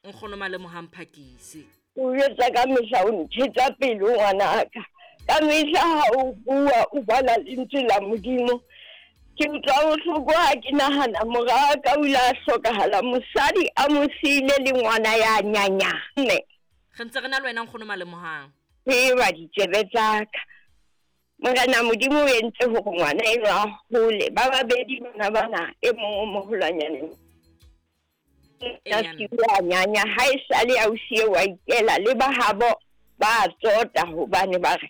Nkgono Malemohang Phakisi. O etsa ka mehla o nthetsa pelo ngwanaka. Ka mehla ha o bua o bala lentswe la Modimo. Ke utlwa bohloko ha ke nahana mora ka o ile a hlokahala mosadi a mo siile le ngwana ya nyanyane. Re ntse re na le wena nkgono Malemohang. Tseba ditsebe tsa ka. Morena Modimo o entse hore ngwana enwa a hole. Ba babedi bana bana e mong o moholwanyane. A nyanya ha e sale ausi eo a ikela le ba habo ba tsota hobane ba re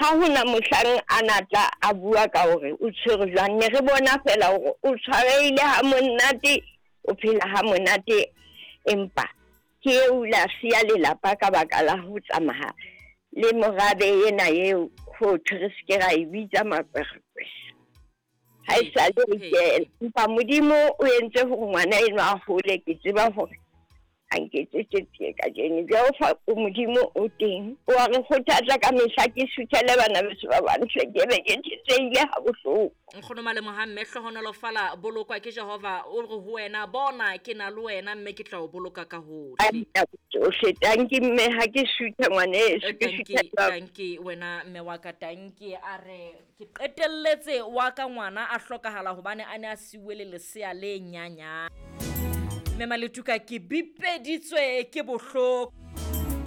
ha hona mohlang a natla a bua ka hore o tshwere jwang. Ne re bona fela hore o tshwarehile ha monate, o phela ha monate, empa ke eo la siya lelapa ka baka la ho tsamaya le morabe ena eo ho thwe re se ke ra e bitsa makwerekwere. Ha e sale o ikela, empa Modimo o entse hore ngwana enwa a hole. Ke tseba hore a nketsetse tsie kajeno. Jehova o Modimo o teng, o a re kgothatsa ka mehla. Ke suthele bana beso ba bantle, ke be ke thetsehile ha bohloko. Nkgono Malemohang mme hlohonolofala bolokwa ke Jehova. O re ho wena, bona ke na le wena mme ke tla o boloka ka hohle. Tsohle. Tanki mme, ha ke suthe ngwaneso, ke Tanki, tanki wena mme wa ka, tanki. A re ke qetelletse wa ka ngwana a hlokahala hobane a ne a siuwe le lesea le nyanyane. Mme Maletuka ke bipeditswe ke bohloko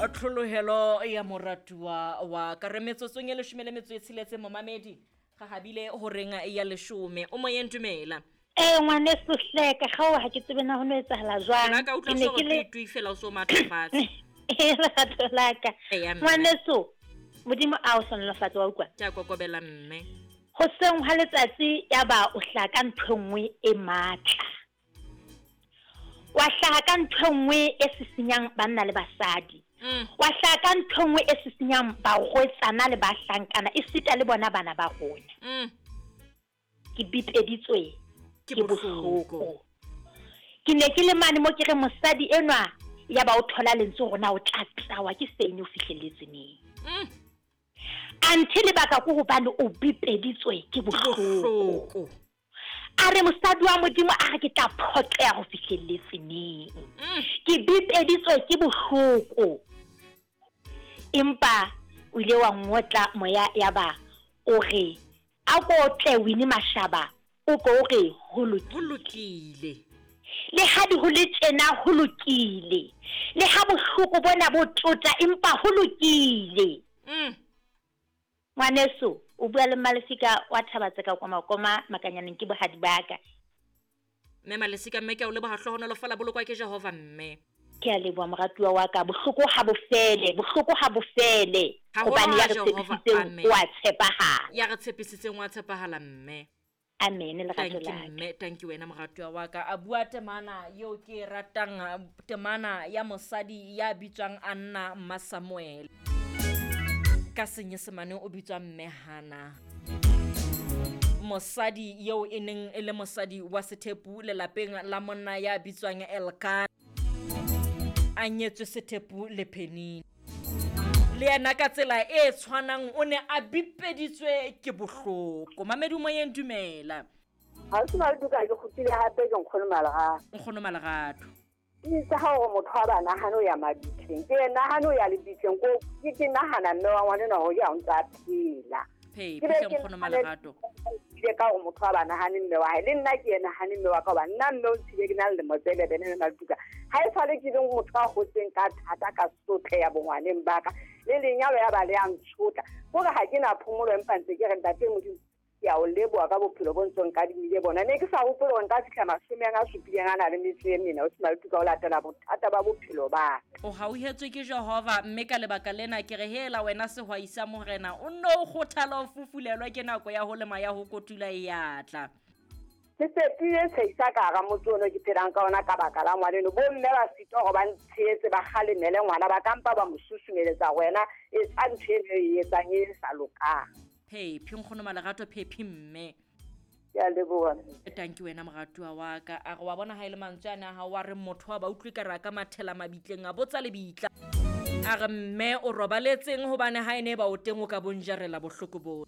tlholohelo ya moratuwa wa ka. Re metsotsong e 16 momamedi, ga habile horeng ya 10. O moyeng, dumela. Ee ngwaneso hleka, gao ha ke tsebe na ho no etsahala jwang. Nna ka utlwa Ke ne so ke le tui fela o so matlafatse. Ee lerato la ka. Eya, mme. Ngwaneso, Modimo a o hlonolofatse, wa utlwa. Ke a kokobela mme. Hoseng hwa letsatsi ya ba o hlaha ka ntho e nngwe e matla. Wa hlaha ka ntho e nngwe e sisinyang banna le basadi. Wa hlaha ka ntho e nngwe e sisinyang barwetsana le bahlankana, esita le bona bana ba rona. Ke bipeditswe Ke ke bohloko. bohloko. Ke ne ke le mane mo ke re mosadi enwa ya ba o thola lentswe hore na o tla tlawa ke sene o fihlelletse neng. Anthe lebaka ke hobane o bipeditswe ke bohloko. Bohloko. A re mosadi wa Modimo a re ke tla phoqeha ho fihlelletse neng. Ke bipeditswe ke bohloko. Empa o ile wa ngotla moya ya ba o re a ko tle Winnie Mashaba o ko o re ho lokile. Ho lokile. Le ha di ho le tjena ho lokile. Le ha bohloko bona bo tota empa ho lokile. Ngwaneso, o bua le Mmalesika wa Thabatseka kwa Makoma Makanyaneng ke bohadi ba ka. Mme Malesika mme ke a o leboha, hlohonolofala bolokwa ke Jehova mme. Ke a leboha moratuwa wa ka, bohloko ha bo fele, bohloko ha bo fele. Haholo Hobane ya ha re Jehova, tshepisitseng amen. o a tshepahala. Ya re tshepisitseng wa tshepahala mme. Amen, lerato Thank you la ka. mme, thank you wena moratuwa wa ka. A bua temana eo ke e ratang, temana ya mosadi ya bitswang Anna Mma Samuel. Ka senyesemane o bitswa mme Hana. Mosadi eo e neng e le mosadi wa sethepu lelapeng la monna ya bitswang Elkana. A nyetswe sethepu le Penina. Le yena ka tsela e tshwanang o ne a bipeditswe ke bohloko. Mamedi moyeng, dumela. Ha o se Maletuka, ke kgutlile hape ke nkgono Malerato. Nkgono Malerato. Ke itse ha hore motho wa ba nahane o ya mabitleng. Ke nahane o ya lebitleng ko ke nahana mme wa ngwana hore ya o ntse a phela. Phephi Ke be hle ke nkgono nahane Malerato. ile ka hore motho wa ba nahane mme wa hae. Le nna ke ye nahane mme wa ka hoba nna mme o ntshile ke na le lemo tse 11 le Maletuka. Ha e sale ke leng motho a hotseng ka thata ka sotleha bongwaneng ba ka. Le lenyalo ya ba le ya ntshotla. Kore ha ke na phomolo empa ntse ke re ntate Modimo ke a o leboha ka bophelo bo ntsong ka dimile bona. Ne ke sa hopole hore nka fihla 70 a na le metso e mene, o se Maletuka o latela bothata ba bophelo ba ka. O hauhetswe ke Jehova mme ka lebaka lena ke re hela wena sehwai sa morena o nno o kgothala o fufulelwe ke nako ya ho lema ya ho kotula e ya tla. Ke fetohile tshehisa ka hara motse ono ke phelang ka ona ka baka la ngwaneno. Bo mme ba sitwa hore ba ntshehetse ba kgalemele ngwana, ba ka mpa ba mo susumeletsa wena etsa ntho eno e etsang e sa lokang. Phephi nkgono Malerato, phephi mme. Ke a leboha. Thank you wena moratuwa wa ka. A re wa bona ha e le mantswe ana a hao wa re motho wa ba utlwe ka re a ka mathela mabitleng a botsa lebitla. A re mme o robaletseng hobane ha e ne ba o teng o ka bonjarela bohloko bo.